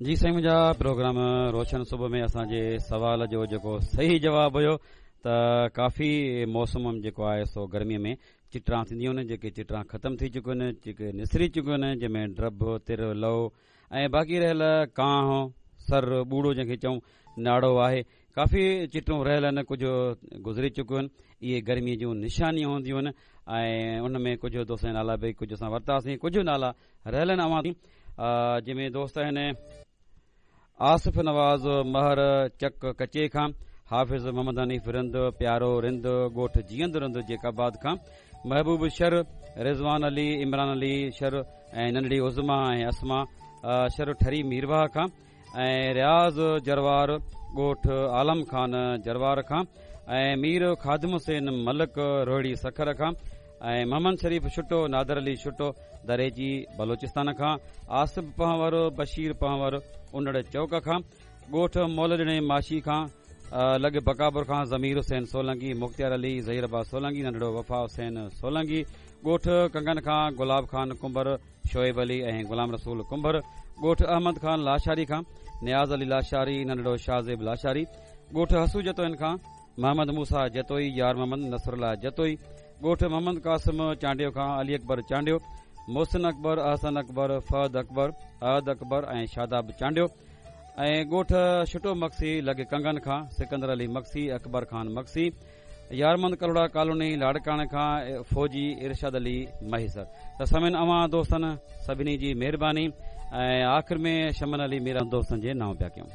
جي سائين منهنجا پروگرام روشن صبح ۾ اسان جي سوال جو جيڪو صحيح جواب هيو ته ڪافي موسم جيڪو آهي سو گرمي ۾ چٽران ٿينديون آهن جيڪي چٽران ختم ٿي چڪيون آهن جيڪي نسري چڪيون آهن جنهن ۾ ڊڀ تر لو ۽ باقي رهيل ڪانهه سر ٻوڙو جنهن کي چئون ناڙو آهي ڪافي چٽون رهيل آهن ڪجهه گذري چڪيون آهن اهي گرمي جون نشانيون هونديون آهن ۽ ان ۾ ڪجهه دوستن جا نالا به ڪجهه اسان ورتاسين ڪجهه نالا رهيل آهن اوهان جنهن ۾ دوست آهن آصف نواز مهر چڪ ڪچي کان حافظ محمد حنيف رند پيارو رند ڳوٺ جيئند رند جيڪب آباد کان محبوب شر رضوان علي عمران علي شر ۽ ننڍڙي عظما ۽ اسما شر ٺري ميرواهه کان ۽ رياض جروار ڳوٺ عالم خان جروار کان ۽ مير خادم حسين ملڪ روهڙي سکر کان ۽ محمد شريف ڇٽو نادر علي ڇٽو دريجي بلوچستان کان آصف پنهور بشير پنهور انڙ چوڪ کان ڳوٺ مولڏڻي ماشي کان لڳ بڪاپور کان ضمير حسين سولنگي مختيار علي ظهير عباس سولنگي ننڍڙو وفا حسين سولنگي ڳوٺ ڪنگن کان گلاب خان ڪنڀر شعيب علي ۽ غلام رسول ڪنڀر، ڳوٺ احمد خان لاشاري کان نياز علي لاشاري، ننڍڙو شاهزيب لاشاري، ڳوٺ حسو جتوئين کان محمد موسيٰ جتوئي، يار محمد نصرالله جتوئي، ڳوٺ محمد قاسم چانڊيو کان علي اڪبر چانڊيو، محسن اڪبر، احسن اڪبر، فهد اڪبر، احد اڪبر ۽ شاداب چانڊيو ۽ ڳوٺ ڇٽو مگسي لڳ ڪنگن کان سڪندر علي مگسي، اڪبر خان مگسي، يارمند ڪلهوڙا ڪالوني لاڙڪاڻي کان فوجي ارشاد علي مهيسر ته سامعين اوهان دوستن سڀني جي مهرباني ۽ آخر ۾ شمن علي ميران دوستن جي نانء پيا ڪيون.